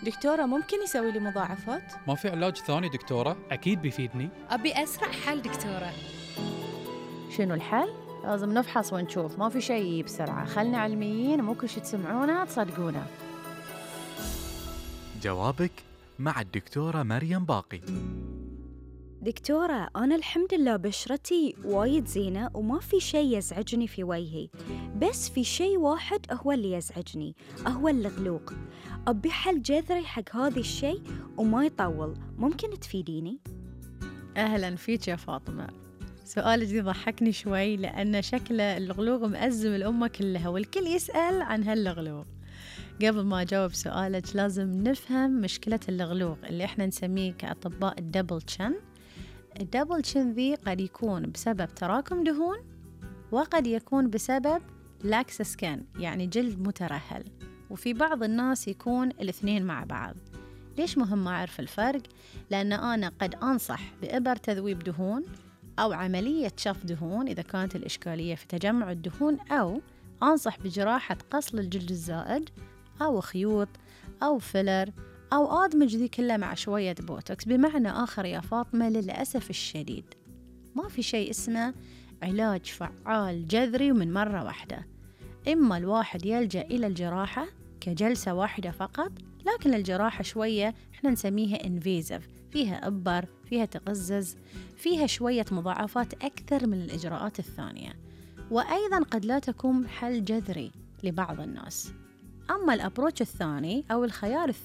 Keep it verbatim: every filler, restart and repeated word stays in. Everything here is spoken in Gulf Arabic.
دكتورة ممكن يسوي لي مضاعفات؟ ما في علاج ثاني دكتورة؟ أكيد بيفيدني. أبي أسرع حل دكتورة. شنو الحل؟ لازم نفحص ونشوف، ما في شيء بسرعة، خلنا علميين، مو كل شي تسمعونه تصدقونه. جوابك مع الدكتورة مريم باقي. دكتورة أنا الحمد لله بشرتي وايد زينة وما في شيء يزعجني في وجهي، بس في شيء واحد هو اللي يزعجني، هو اللغلوق. أبي حل جذري حق هذا الشيء وما يطول، ممكن تفيديني؟ أهلا فيك يا فاطمة. سؤالك دي ضحكني شوي لأن شكله اللغلوق مأزم الأمة كلها والكل يسأل عن هاللغلوق. قبل ما أجاوب سؤالك لازم نفهم مشكلة اللغلوق اللي إحنا نسميه كأطباء الدبل تشن. الدبل تشن ذي قد يكون بسبب تراكم دهون وقد يكون بسبب لاكس سكان يعني جلد مترهل، وفي بعض الناس يكون الاثنين مع بعض. ليش مهم أعرف الفرق؟ لأن أنا قد أنصح بإبر تذويب دهون أو عملية شف دهون إذا كانت الإشكالية في تجمع الدهون، أو أنصح بجراحة قص الجلد الزائد أو خيوط أو فيلر أو أدمج ذي كلها مع شوية بوتوكس. بمعنى آخر يا فاطمة للأسف الشديد ما في شيء اسمه علاج فعال جذري ومن مرة واحدة. إما الواحد يلجأ إلى الجراحة كجلسة واحدة فقط، لكن الجراحة شوية إحنا نسميها انفيزيف، فيها إبر، فيها تقزز، فيها شوية مضاعفات أكثر من الإجراءات الثانية، وأيضا قد لا تكون حل جذري لبعض الناس. أما الأبروتش الثاني أو الخيار الثاني